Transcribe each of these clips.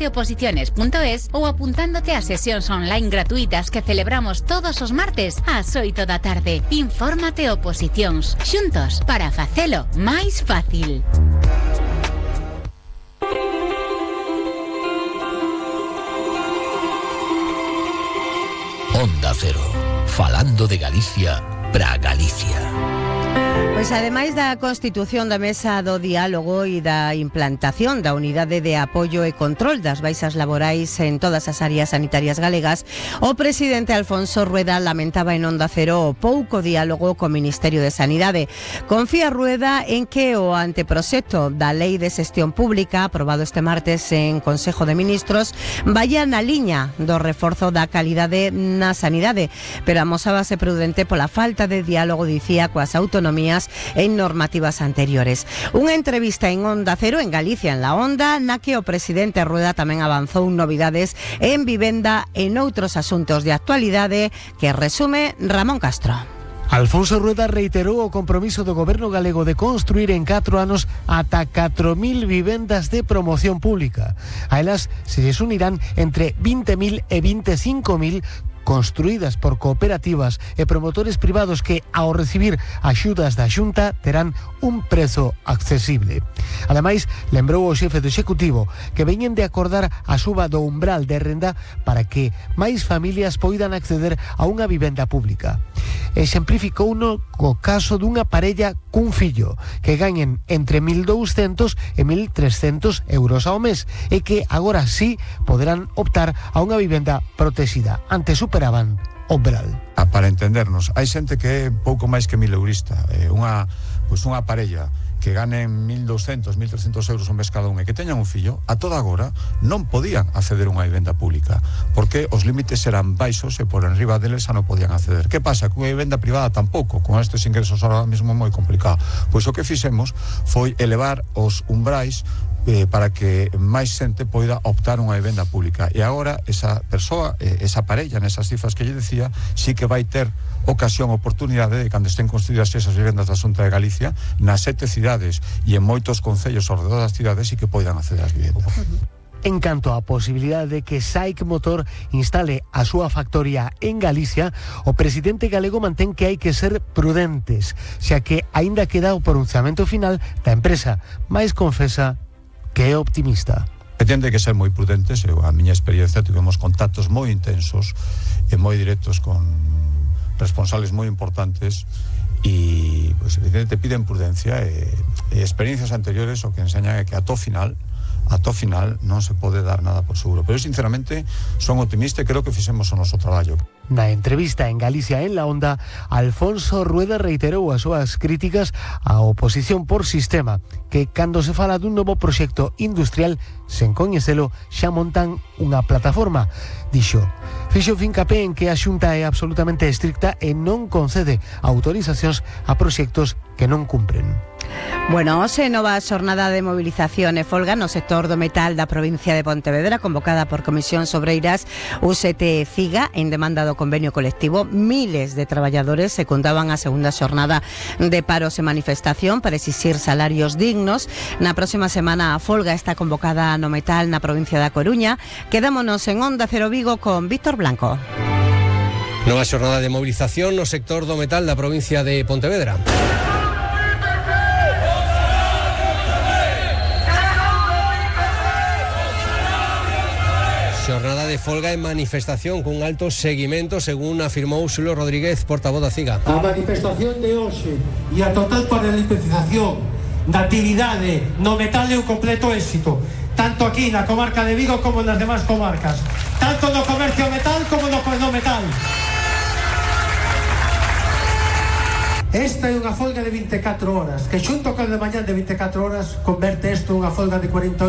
naceoposiciones.es ou apuntándote a sesións online gratuitas que celebramos todos os martes ás 8 da tarde. Infórmate Oposicións, xuntos para facelo máis fácil. Onda Cero, falando de Galicia para Galicia. Pois ademais da constitución da Mesa do Diálogo e da implantación da Unidade de Apoio e Control das Baixas Laborais en todas as áreas sanitarias galegas, o presidente Alfonso Rueda lamentaba en Onda Cero o pouco diálogo co Ministerio de Sanidade. Confía Rueda en que o anteproxecto da Lei de Xestión Pública, aprobado este martes en Consejo de Ministros, vaya na liña do reforzo da calidade na sanidade, pero amosábase prudente pola falta de diálogo, dicía, coas autonomías en normativas anteriores. Unha entrevista en Onda Cero, en Galicia en la Onda, na que o presidente Rueda tamén avanzou novidades en vivenda e noutros asuntos de actualidade que resume Ramón Castro. Alfonso Rueda reiterou o compromiso do goberno galego de construir en 4 anos ata 4.000 vivendas de promoción pública. A elas se lles unirán entre 20.000 e 25.000 construídas por cooperativas e promotores privados que, ao recibir axudas da Xunta, terán un prezo accesible. Ademais, lembrou o xefe do Executivo que veñen de acordar a suba do umbral de renda para que máis familias poidan acceder a unha vivenda pública. Exemplificouno co caso dunha parella cun fillo que gañen entre 1.200 e 1.300 euros ao mes e que agora sí poderán optar a unha vivenda protexida. Antes superaban o umbral. Para entendernos, hai xente que é pouco máis que 1.000 eurista, unha parella que ganen 1.200, 1.300 euros ao mes cada un e que teñan un fillo, a toda agora non podían acceder a unha vivenda pública porque os límites eran baixos e por enriba deles xa non podían acceder. Que pasa? Que unha vivenda privada tampouco, con estes ingresos ahora mesmo moi complicado. Pois o que fixemos foi elevar os umbrais para que máis xente poida optar unha vivenda pública. E agora esa persoa, esa parella, nesas cifras que lle decía, sí que vai ter ocasión, oportunidade de cando estén construídas esas vivendas da Xunta de Galicia nas 7 cidades e en moitos concellos ao redor das cidades sí que poidan acceder ás vivendas. En canto á posibilidade de que SAIC Motor instale a súa factoría en Galicia, o presidente galego mantén que hai que ser prudentes, xa que aínda queda o pronunciamento final da empresa, mais confesa que é optimista. Tende que ser moi prudentes. A miña experiencia, tivemos contactos moi intensos e moi directos con responsables moi importantes e, pues, evidentemente, piden prudencia e experiencias anteriores o que enseñan é que a to final non se pode dar nada por seguro. Pero, sinceramente, son optimista e creo que fixemos o noso traballo. Na entrevista en Galicia en la Onda, Alfonso Rueda reiterou as súas críticas á oposición por sistema, que cando se fala dun novo proxecto industrial, sen coñecelo, xa montan unha plataforma. Dixo, fixo fincapé en que a Xunta é absolutamente estricta e non concede autorizacións a proxectos que non cumpren. Bueno, hoxe nova xornada de movilización e folga no sector do metal da provincia de Pontevedra, convocada por Comisións Obreiras, UGT e CIGA, en demanda do convenio colectivo. Miles de traballadores secundaban a segunda xornada de paros e manifestación para exixir salarios dignos. Na próxima semana a folga está convocada no metal na provincia da Coruña. Quedámonos en Onda Cero Vigo con Víctor Blanco. Nova xornada de movilización no sector do metal da provincia de Pontevedra. Xornada de folga e manifestación cun alto seguimento, según afirmou Xulio Rodríguez, portavoz da CIGA. A manifestación de hoxe e a total paralización da actividade no metal é un completo éxito, tanto aquí na comarca de Vigo como nas demás comarcas, tanto no comercio metal como no metal. Esta é unha folga de 24 horas, que xunto con a de mañán de 24 horas converte isto unha folga de 48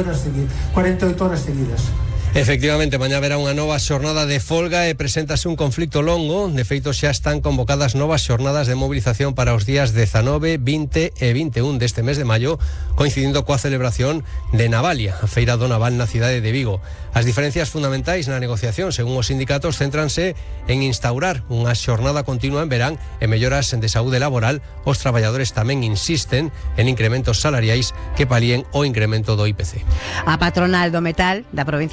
horas seguidas. Efectivamente, mañá haberá unha nova xornada de folga e preséntase un conflicto longo. De feito, xa están convocadas novas xornadas de movilización para os días 19, 20 e 21 deste mes de maio, coincidindo coa celebración de Navalia, a Feira do Naval na cidade de Vigo. As diferencias fundamentais na negociación, según os sindicatos, céntranse en instaurar unha xornada continua en verán e melloras de saúde laboral. Os traballadores tamén insisten en incrementos salariais que palíen o incremento do IPC. A patronal do metal da provincia